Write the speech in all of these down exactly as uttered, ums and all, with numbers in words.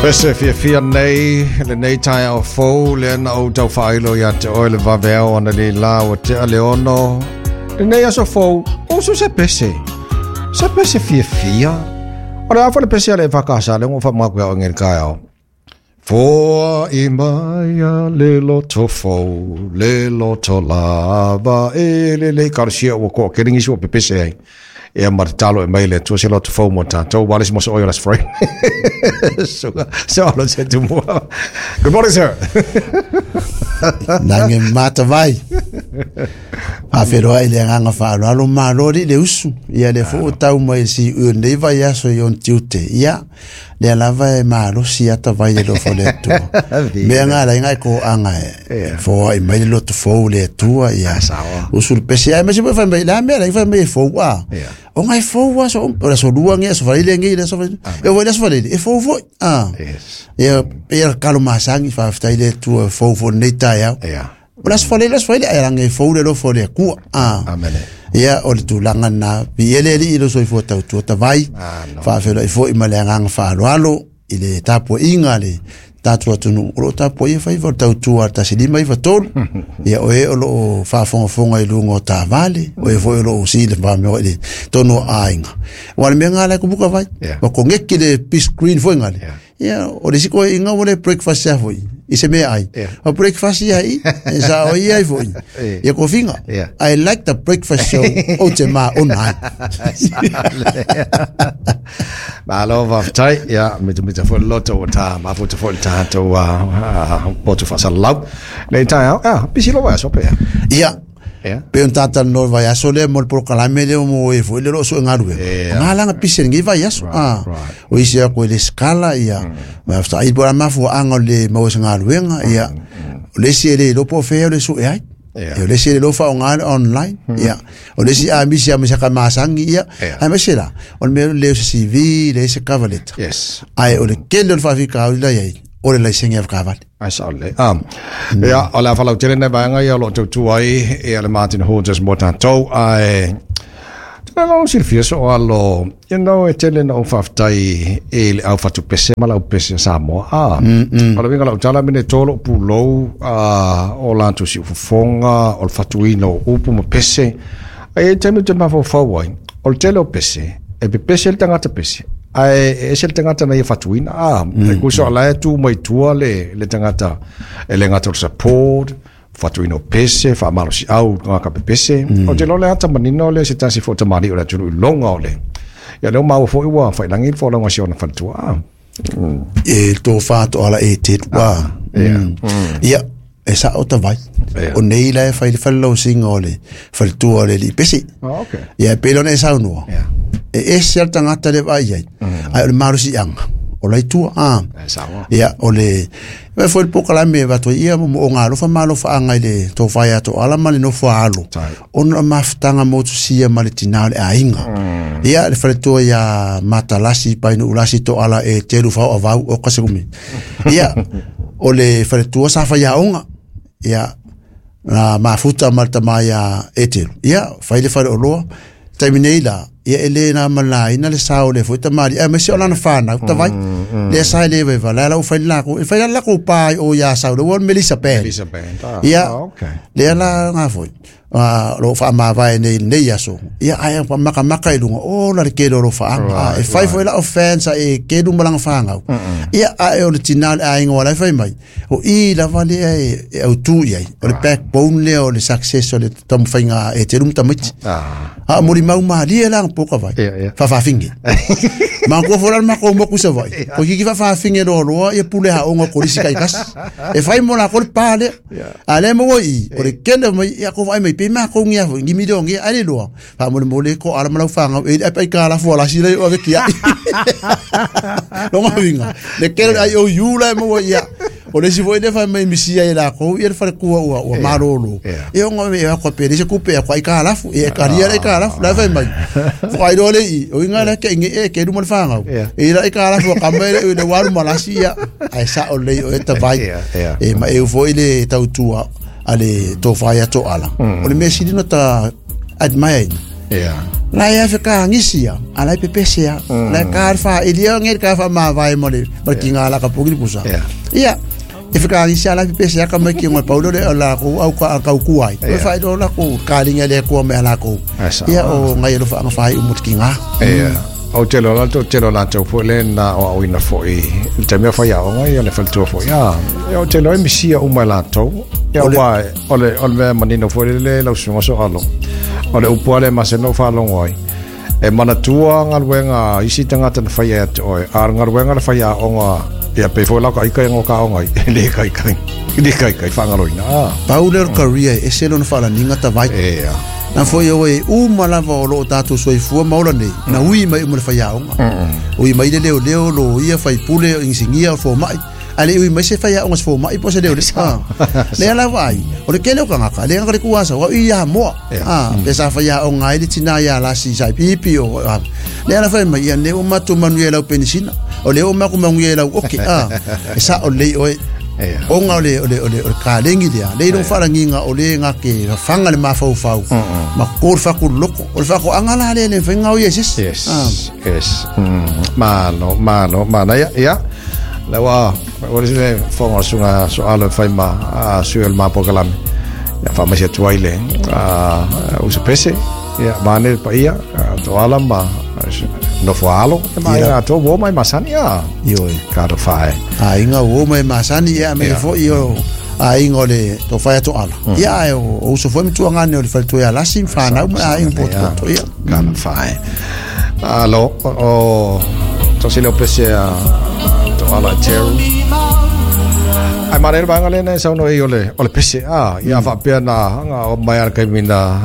Pese fiafia nei, lenei taeao fou, lea na ou taufaailo ia te oe le vaveao analeila ua tea le ono. Lenei aso fou, usu se pese. Se pese fiafia. O le a foi le pese a le E F K S le ngo faamaku ia oe le taeao. Foai mai a le loto fou, le loto lava, e le le karasia ua koa kere ngisi ua pepese ai. Ia ma te talo e mai le Atua se loto fou mo tātou. Wale si moso oio las frame. So, so alo se tumua. Good morning, sir. Lagi matavai. Faafeiloai i le agaga faaaloalo malo alii le usu. Ia lea foi ua tau mai si ui o lenei vaiaso i ona tiute. Ia, lea lava e malosi ata vai le alofa o le Atua. Mea nga ala ai e koaga e foai mai le loto fou le Atua. Ia, usu le pese ai ma se fai mai la mea la fai mai e fou a. O ngai fou aso o le aso lua nge aso faleile nge le aso faleile. E foi le aso faleile e fou foi. Ah. Ia, ia kalo masangi faafetai le Atua fou foi lenei taeao. O le aso faleile aso faleile ai lagi e fou le alofa o le Atua. Ah. Ia o le tulaga na viia le Alii i lo soifua tautua tavai. Faafeiloai foi ma le agaga faaaloalo i le tapuaiga a le tatou atunuu o loo tapuaia faiva o le tautua a le tasi lima iva tolu. Ia o e o loo faafogafoga i luga o taavale, o e foi o loo sili faamea i le tonu o aiga. Ua le mea nga la kubuka vai. Wa kongeki le big screen foi ngale. Ia o le siko inga o le breakfast ia foi. I se mea ai. O breakfast ia i, e sa o ia ai foi. Ia kofinga. I like the breakfast show o te ma ona ai. Malo faafetai. Ia, mitamita foi le loto ua tā, mafuta foi le tatou poto faasalalau. Nei taeao, ah, pisi lo vaiaso pea. Ia, pe on tātalanoa i le vaiaso lea mo le polokalame lea mo e foi le loo suegaluega. O ngā langa pisi lenei vaiaso. Ah, o isi ako i le skala, ia, faafetai po o le a mafuaaga o le maua o se galuega, ia, o le isi e le iloa po o fea o le sue ai. Ia, o le isi e le iloa faaaoga le online, ia, o le isi a misi lava ma se masagi, ia, aemaise la, o le mea lea o se C V, leai se cover letter. Ae o le tele o le faafitauli la i ai, o le laisene avekavale. Ai sao lelei. Ah. Ia, o le a faalautele nai vaega ia o lo o tautua ai ia le Martin Hodges mo tatou, ae tele lau silafia so alo, you know, e tele na ou faafetai i le au fatupese ma le aupese a Samoa. Ah. O le uiga o lau tala mene tolo pulou ah, o latou siufofoga, o le fatuina o upu ma pese. Ai e taimi ou te mafaufau ai, o le tele o pese, e pepese le tagata pese, ae e ese le tagata na ia fatuina. Ah, e kusa o la e tu mai tua le, le tagata e le gata o le support, fatuina o pese, faamalosiau tagata pepese. O te iloa le ata manino lea se tasi foi o tamalii o le atunuu i loga o le. Ia lea ua maua foi ua failagi le folauga a si ona faletua. Ah. E tofa toala e te ua. Ia, e sao tavai. O nei la e fai le falelausiga o le faletua o le alii pese. Ah, okay. Ia e pei ona e saunoa. Yeah. E ese lava le tagata lea e vaai ai. Ae o le malosiaga, o la itua. Ah. E sao. Ia, o le e foi le polokalame e avatu ai ia moomooga alofa ma alofaaga i le tofa ia Toala ma le nofo a alo. Ona o mafutaga motusia ma le tinā o le aiga. Ia, le faletua ia Matalasi Painuulasi Toala e telu fao avau o kasekumi. Ia, o le faletua sa faiaoga. Ia, na mafuta ma le tama ia Etelu. Ia, fai le faleoloa. Taimi nei la, ia e le na malaina le sao o le foi tamalii, aemaise o lana fanau, tavai. Lea sa e le vaivai, la ua fai le lakou, e fai la le lakou pa i o ia Sau, le ua o le Melissa Band. Melissa Band. Ah, Ia, ah, okay. Lea la ngā foi, uh, o lo o faamavae nei i lenei aso. Ia, ae makamaka i luga, o la le tele o alofaaga. Right, E fai foi lau fans a e kelu ma lana fanau. Ia, ae o le tinā o le aiga o la e fai mai. O i lava lea e, e autū i ai. O le backbone lea o le success o le taumafaiga a Eteru ma tamaiti. Ah. A molimau malie la poka vai. Ia, ia. Faafaafine. Manatua foi la le matou moku i Savaii. Ko kiki faafaafine loaloa ia pule aoga o kolisi taitasi. E fai mo lakou le pa lea. A lea maua i i, o le kele mai ia ko vaai mai pe makou ngia foi ni milioni ngia ai le loa. Faamolemole ko ala ma lau fagau e ai ka la fua la sila o ave kia. Longa uiga. Le kele ai o iu la e maua ia. O le isi foi lea fai mai misia i lakou ia le falekua ua ua malolo. E ona e ako pe le se kupe ako ai ka lafu e karia le ka lafu la fai mai. Fo ai le i o inga le ke nge e ke lu mal fangau. E la ka lafu ka mai le le waru malasi ia. Ai sa o le o e tavai. E ma e foi le tautua a le tofa ia Toala. O le mea sili na ta admire ina. Ia. La ia fe ka ngisia, ala pepese ya. La ka fa ilia ngel ka fa ma vai mo le, ma kinga la ka pogi pusa. Ia. E fe ka ngisia ala pepese ya ka me ki ngoi paulo le la ko au ka ka ku ai. E fa do la ko ka linga le ko me ala ko. Ia o ngai lo fa fa i mo kinga. Ia. O te lo la te lo la te fo le na o au ina fo i te mea fa ia o ngai le fa fo ia. O te lo misia o mai la to. Ia wa o le o le manino fo le la usunga so alo. O le upu ale maseno fa longoi. E manatua ngaluenga isi tangata na whai e oe. A ngaluenga na whai a onga ia pe fo lau ka ika ngo ka onga le kai kai. Le kai kai whangaloina. Paule o career e selo na whala ninga ta vai. Ea. Na foi o e uma lava o loo tātou soifua maola nei. Na ui mai uma le whai a onga. Ui mai le leo leo lo ia whai pule o insingia o fōmai. Ale ui mai se whai a onga se fōmai po se leo le. Le ala vai. O le kele o kangaka. Le ngaka le kuasa. Wa ui ia moa. Pe sa whai a onga ele tina ia lasi sai pipi o. Le ala whai mai ia ne o matu manu ia lau penisina. O le o maku mangu ia lau oke. E sa o lei oe. Onga o le o le o le o le kalengi lea le ilo wharanginga o le ngā ke whanga le mawhau ma kōr whaku loko o le whaku anga la le le whainga o yes. Yes, yes. Malo, malo, mana ia, ia. Le wa, o le sile whonga sunga so alo whai ma sui el mapo kalame. Ia whamasi atu ai le usapese, ia mane pa ia, to ala ma nofo alo, e mai ato wo mai masani a. Ioi. Ka to whae. A inga wo mai masani ia me fo i o a inga le to whae ato ala. Ia e o uso fo mitua ngane o le whalito ia lasi whanau ma a inga poto poto ia. Ka to whae. Alo, o to sile o pese a to ala teru. Ai mare vanga le nei sauno i ole ole pese a ia fa pea na nga o mai ala kai mina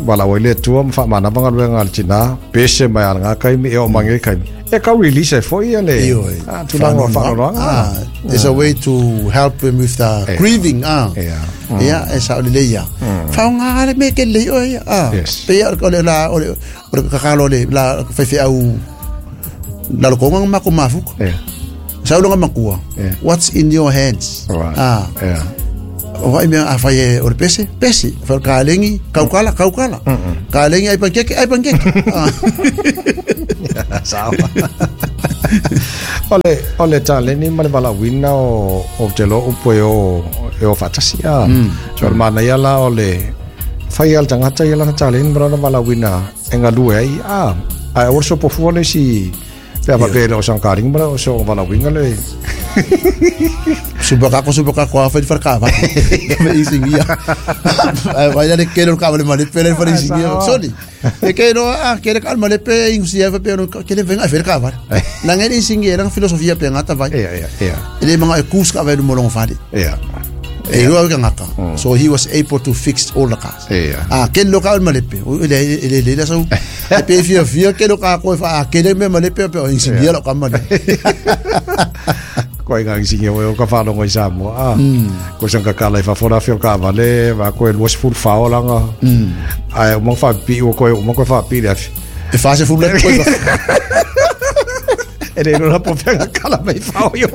wala o le tua ma fa mana vanga lenga le tina pese mai ala nga kai mi e o mange kai e ka release e foi le a tulanga fa no ah there's a way to help him with the grieving ah ia e sa le ia fa nga le me ke le o ah pe ia o le la o le ka ka lo le la fa fa au la lo konga ma ko mafuko. Saulonga makua. What's in your hands? Right. Ah. Yeah. O vai mea a whai e ore pese? Pese. Whai ka lengi, kaukala, kaukala. Ka lengi ai pankeke, ai pankeke. Sawa. Ole, ole tā leni ma le wala wina o, o te lo upo e o, e o whatasi a. So le mana ia la o le whai al tangata ia lana tā leni ma lana wala wina e ngā lue ai. Ah. Ai o so pofua le si pea papele o sankaring mara o so wala winga le subaka subaka ko afa farka va me isingia ai vai le kelo ka le male pele fara isingia soli e ke no a ke ka male pe insia fa pe no ke le venga farka va la ngel isingia la filosofia pe ngata vai ia ia ia ele manga e kus ka vai no molong fadi ia e rua ka ngaka. So he was able to fix all the cars. Yeah. Ah, ke lo ka malepe. Ele ele ele so e pe fia fia ke lo ka ko fa ke le me malepe pe o insingia lo ka male. Ko inga insingia o ka fa longo isa mo. Ah. Ko sang ka kala fa fora fio ka vale va ko el was full fa olanga. Ai mo fa pi o ko mo ko fa pi le. E fa se full le ko. Ele non la può fare kala mai fa io.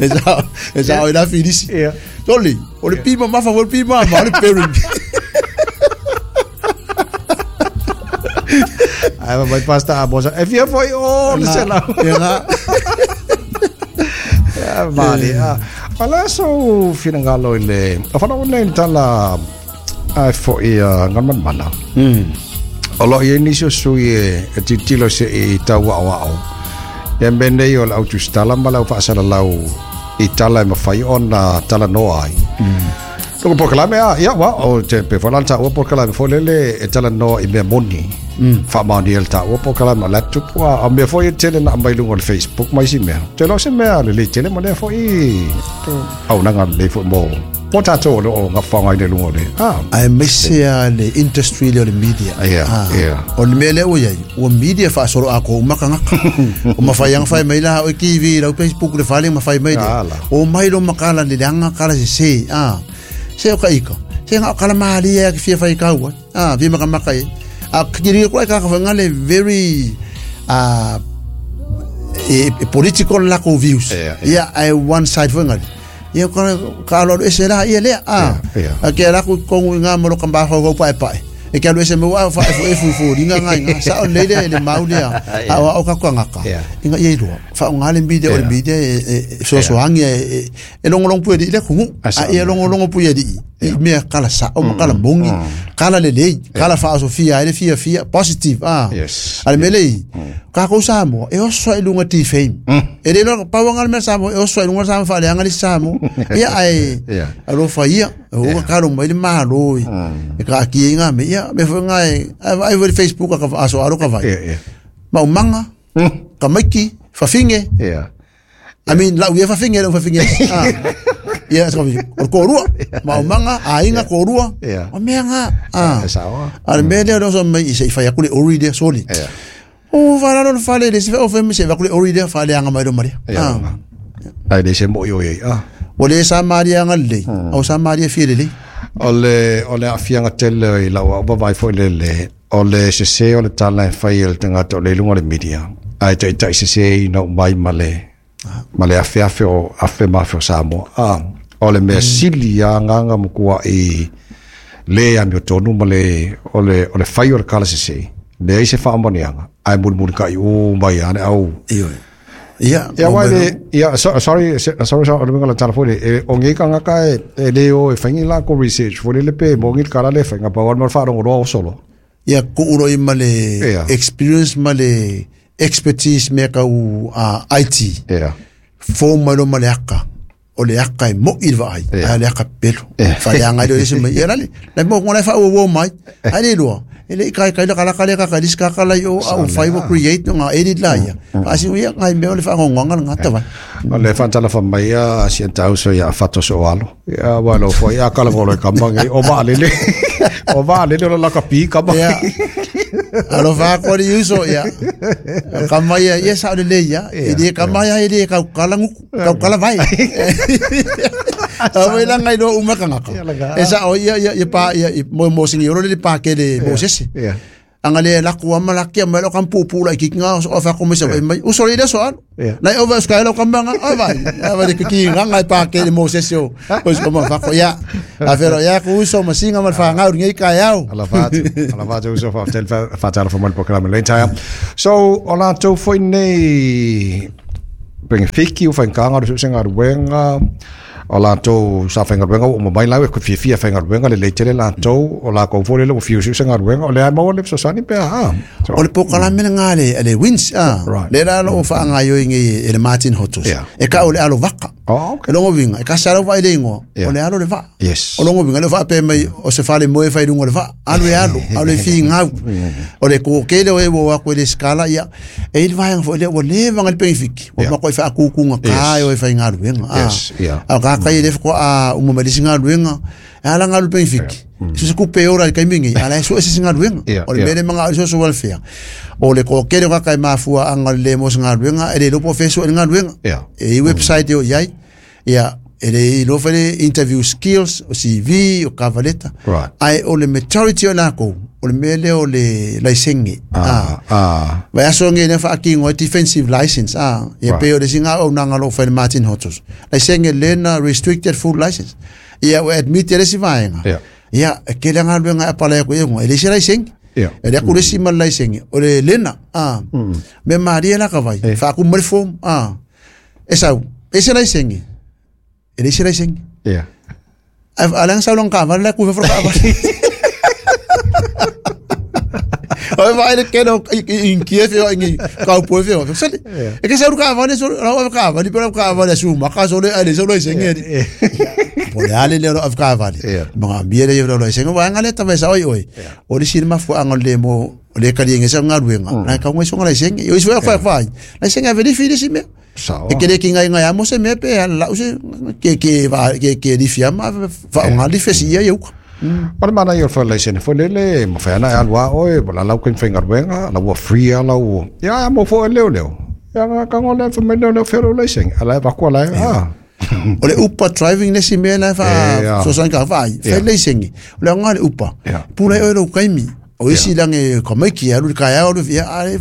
Esa esa era felice. Yeah. Toli, o le pima ma fa o le pima ma le peri. Ai ma mai pasta a bosa. E via foi o le sela. Era. Ya mali. Ala so finangalo ile. A fa no nei tala ai fo i ngan mana. Mm. Olo i inisio sui e titilo se i tau ao. Ia mene o lau tustala ma lau whaasala lau i tala e mawhai o na tala noa ai. Toko pokalame a, ia wa, o te pe whalanta ua pokalame fo lele e tala noa i mea moni. Wha maoni el ta ua pokalame a laptop a, a mea fo i tele na mai lunga o le Facebook mai si mea. Te lo se mea le le tele mo lea fo i au nanga le fo mo. Mo tātou o le o ngā whangai le lunga o le. Ah. Ai mese a le industry le o le media. Yeah, yeah. O le mea lea o iai, ua media whaasoro a ko umaka ngaka. O mawhai anga whai mai la o T V, lau Facebook le whale mawhai mai le. O mai lo makala le anga kala se se. Ah. Se o ka ika. Se ngā o kala mahalia ki fia whai kaua. Ah, fia maka maka e. A kiri kua e kaka whanga le very uh, e, e political lack of views. Yeah, yeah. Yeah, I one side whanga. Ia ka ka alo ese la ia le a. A ke la ku kongu nga mo ka ba ho pae pae. E ke alu ese mo wa fa fu fu fu ringa ngai nga sa o le le maulea a o ka ka ngaka inga ye lo fa o ngale media o media e so so hangi e e longo longo pu e le kungu a e longo longo pu e i mea kala sa o kala mongi kala le le kala fa Sofia ele fia fia positive ah ale mele ka ko sa mo e o so e lunga ti fame e le no pa wanga me sa mo e o so e lunga sa fa le anga le sa mo ia ai a lo fa ia o ka lo mai le malo e ka ki nga me ia me fo nga ai ai Facebook ka aso aro ka vai ma manga ka maiki fa finge. I mean la uia fa finge fa finge ah ia so o korua ma manga a inga korua o me nga ah al me le so me se fa ya kule ori de soli o va la no fa le se o fe me se va kule ori de fa le anga mai do maria ah ai de se mo yo ye ah o le sa maria nga le o sa maria fi le le o le o le afianga tele i la o va vai fo le le o le se se o le tala fa il tanga to le lunga le media ai tai tai se se no mai male male afe afe o afe ma fo Samoa ah o le mea sili a nganga mokua i le a mio tonu ma le o le o le fai o le kala se se le ai se whaamanianga ai muri muri ka i o mai ane au ia ia wai le ia sorry sorry sorry o le ngala tala fole o ngi ka ngaka e le o e whaingi la ko research fole le pe mo ngi kala le whainga pa wan wharongo roa o solo ia ku uro i ma le experience ma le expertise me ka u I T ia fo ma lo ma le aka o le aka e mo i vai a le aka pelo fa le anga le se mai era le le mo ngona fa o mai a le lo ele kai kai la kala kala ka ka diska kala yo au five create nga edit la ya asi ia ngai me le fa ngonga nga ta va le fa tala fa mai a si tau so ya fato so alo ya wa lo fo ya kala volo ka mangi o va le le o va le le la ka pi ka ma alo fa ko ri uso ya ka mai ya sa le le ya ile ka mai ile ka kala ka kala vai a wela ngai lo umaka ngaka esa o ia ia pa ia mo mo singi ro le pa ke le Moses anga le la ku ama la kia mai lo kampu pu la ki nga o fa ko mesa mai o so le so al la o va ska lo kamba nga vai a va de ki nga ngai pa ke le Moses o pois como fa ko ya a vero ya ku so masinga mal fa nga ngi ka yao ala fa ala fa so fa tel fa tal fa mal programa le entire so ola to foi nei benefiki o fa nga ro senga wenga o la tau sa whainga ruenga o mai lau e ku fia whainga ruenga le leitele la tau o la kou fole le o fiu siu ruenga o le ai maua le sosani pea ha o le pokalame ngā le le wins ah le la lo o whaanga yo ingi e le Martin Hotos e ka o le alo vaka e longo vinga e ka sara wa ile ingoa o le alo le va o longo vinga le wha pe mai o se fale moe whai runga le va alo e alo alo e fi ngau o le kōkele o e wo ako e le skala ia e il vaenga fo le o le vanga le penifiki o mako e wha akukunga kai o e whai ngā ruenga ah ka kai le ko a uma malisinga ruenga ala ngalu penifiki se ku pe ora kai mingi ala so ese singa ruenga o le mele manga so so welfare o le ko kere ka kai mafua anga le mo singa ruenga e le lo professor nga ruenga e website yo yai ya e le lo fele interview skills o C V o kavaleta ai o le majority o la ko o le mele o le licence ah ah vai so ngi ne fa ki ngo defensive license ah e pe o le singa o nanga lo fele Martin Hotos licence le na restricted food license ia o admit le si vaenga ia ke le nga luenga apala ko e le si licence e le ku le si mal licence o le lena ah me maria la ka vai fa ku mo form ah esa ese licence e le si licence ia alang sa long ka va la ku fa ka va o vai le keno in Kiev o in ka po fe o sale e ke sa ruka va ne so ra ka va ni pero ka va le su ma ka so le ale so le senge po le ale le ro ka va le ma bi le yo le senge wa ngale ta va sa oi oi o le sirma fu angol le mo le ka di ngesa ngaluenga na ka ngwe so ngala senge yo so fa fa la senge ve di si me e ke le ki ngai ngai amo se me pe la se ke ke va ke ke di fiama fa ngali fe si yo. O le mana i o le whaelaisene fo lele, ma whaena e alua oe, la lau ken whainga ruenga, la ua free ala ua. Ia, mo fo e leo leo. Ia, nga kango le wha mai leo leo whiro leiseng. Ala e wakua lai, ah. O le upa driving le si mea lai wha sosan ka whai, whaelaisenge. O le anga le upa. Pula e oe lau kaimi. O isi lange ka mai ki alu ka ya alu ya ale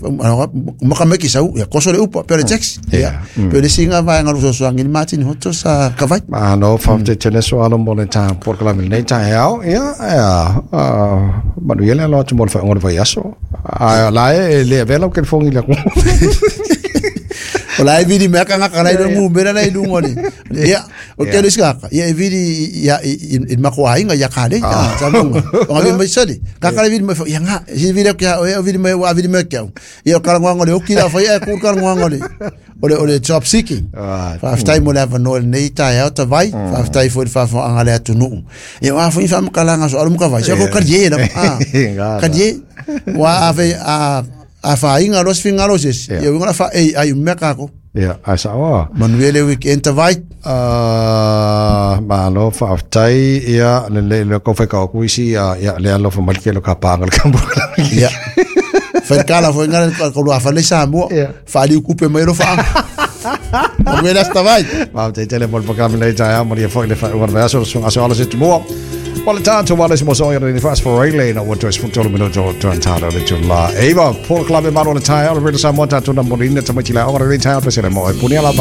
ma ka mai ki sau ya koso le upa pe le taxi ya pe le singa va nga lu so so ngi Martin Hoto sa ka vai ma no fa te tele so alo mo le ta por kala mi nei ta hao ya ya ma nu yele lo tu mo fa ngor va yaso a la e le vela ke fongi la o la e vidi mea ka ngaka lai ngu mera lai lunga le ia o ke le ska ia e vidi ia i mako ainga ia ka le sa munga o ngabe mai sali ka ka vidi mai ia nga si vidi ka o vidi mai wa vidi mai ka ia ka ngwa ngole o ki la fa ia ku ka ngwa ngole o le o le job seeking fa ftai mo la va no nei ta ia ta vai fa ftai fo fa fa anga le atu nu ia wa fo fa makala nga so alu ka vai so ko ka ye la ka ye wa ave a a fa inga los fingalos es ia winga fa ei ai meka ko ia a sa wa manuele weekend ta vai a ma lo fa tai ia le le le ko fa ka ku isi ia ia le alo fa malke lo ka panga le kambu ia fa kala fo inga ko lo fa le sa mo fa li kupe mai lo fa manuele sta vai ma te tele mol pa kam le ta mo le fo le fa wa so so aso ala se mo Well, time to what is more so in fast for relay no what to tolo minuto to antalo le tula eva por club e maro le tai ala rela sa mota tuna morina tamaiti la ora le tai pa se mo punia la